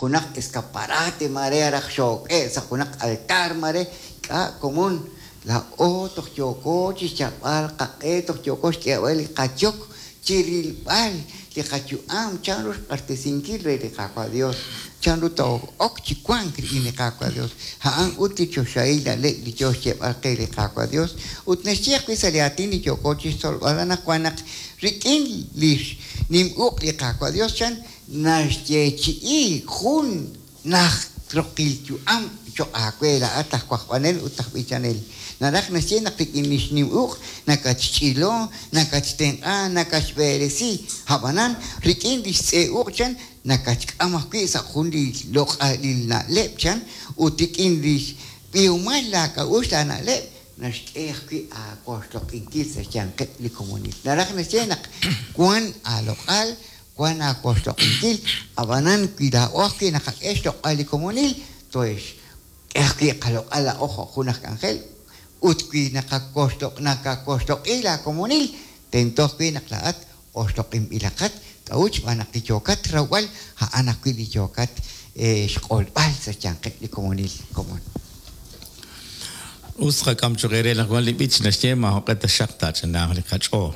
junaq escaparate mare raj xook'e' sa' junaq altar mare ink'a' komon laa'o toj yooko chixyalb'al qaq'e toj yooko xk'eeb'al li qayok chi rilb'al li qayu'am chanru xq'axtesinkil re li Qaawa' Dios chanru too'ok chi wank rik'in li Qaawa' Dios a'an ut li choxahil na'leb' li yoo xyeeb'al qe li Qaawa' Dios ut naxye ajwi' sa' li aatin li yooko chixtzolb'al anaqwan naq rik'in li nim uq' li Qaawa' Dios chan naxyeechi'i jun najt roqil yu'am cho'q aawe laa'at aj wajb'anel ut aj b'ichanel. Naraj naxye naq rik'in li xnim uq' nakatxch'ilo, nakatxtenq'a, nakatxb'eresi. Ab'anan rik'in li xtz'e uq' chan nakatxk'am ajwi' sa' jun li loq'alil na'leb' chan ut rik'in li xb'ihomal laak'a'uxl laana'leb' naxk'e ajwi' aawoxloq'inkil sa' xyanqeb' li komonil. Naraj naxye naq wan aaloq'al, wan aawoxloq'inkil, ab'anan wi laa'o ajwi' naqak'e xloq'al li komonil, toxk'e ajwi' qaloq'al laa'o jo' jun aj k'anjel ut wi nakawoxloq'i laakomonil, tento ajwi' naq laa'at oxloq'inb'ilaqat k'a'ut xb'aan naq li yookat rawb'al a'an ajwi' li yookat xq'olb'al sa' xyanqeb' li komonil komon. Us tqak'am cho'q eere naq wan li b'ich naxye maajoq'e taxaq taach'anaaq li qach'ool.